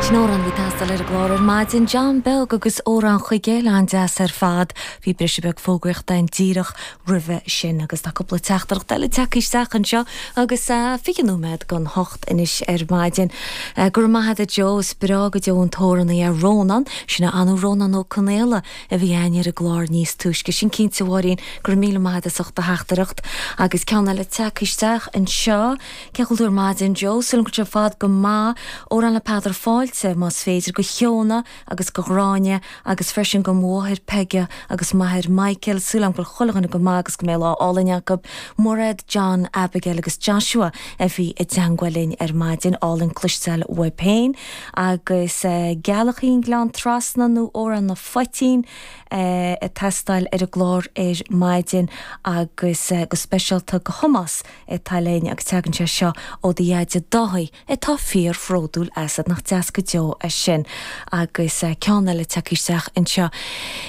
Sin amhrán a bhí ag teastáil ar an gclár ar maidin, John Beag agus Amhrán Chuig Chéile, an-deas ar fad. Bhí briseadh beag fógraíochta ann díreach roimhe sin agus tá cúpla teachtaireacht eile tagtha isteach anseo agus 20 nóiméad don hocht anois ar maidin. Go raibh maith agat a Joe, is breá go deo an t-amhránaí é Rónán, sin é an Rónán Ó Conaola a bhí againn ar an gclár níos túisce. Sin cinnte a Mháirín, go raibh míle maith agat as ucht do theachtaireacht. Agus ceann eile tagtha isteach anseo. Cén chaoi a bhfuil tú ar maidin Joe? Súil agam go bhfuil sibh ar fad go maith. Amhrán le Peadar Fáilte, más féidir, go Shióna agus go Ghráinne agus freisin go mo mháthair Peige agus m'athair Michael. Súil agam go bhfuil chuile dhuine go maith agus go mbeidh lá álainn acu. Mairéad, John, Abigail agus Joshua a bhí i dteangmháil linn ar maidin. Álainn cloisteáil uaibh féin. Agus Gealach an Gleann Trasna nó Amhrán na Phoitín ag teastáil ar an gclár ar maidin agus go speisialta go Thomás atá linn agus tagann sé seo ó do Dheaide Dáithí atá fíor-bhródúil asat, nach deas go deo é sin. Agus ceann eile tagtha isteach anseo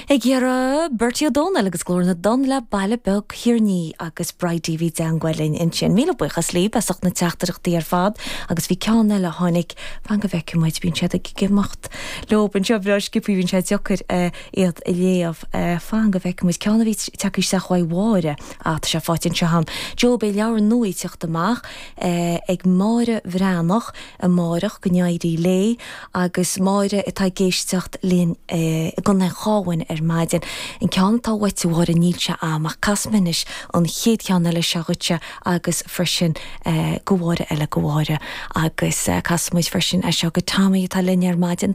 ag iarraidh Bertie Ó Dónaill agus Glór na dTonn le Baile Beag Thír an Fhia agus Bridie a bhí i dteangmháil linn ansin. Míle buíochas libh as ucht na teachtaireachtaí ar fad agus bhí ceann eile a tháinig, fan go bhfeicfidh muid, bíonn siad ag imeacht leo anseo breá sciobtha, bíonn sé deacair iad a léamh, fan go bhfeicfidh muid, ceann a bhí tagtha isteach uaidh Mháire. Ah, tá sé faighte anseo agam. Joe, beidh leabhar nua ag teacht amach ag Máire Bhreathnach amáireach, go n-éirí léi, agus Máire atá ag éisteacht linn i gContae an Chabháin ar maidin. An ceann atá uait, a Mháire, níl sé a'm, ach casfaidh mé anois an chéad cheann eile seo dhuitse agus freisin go Mháire eile, go Mháire. Agus casfaidh muid freisin é seo go Tommy atá linn ar maidin.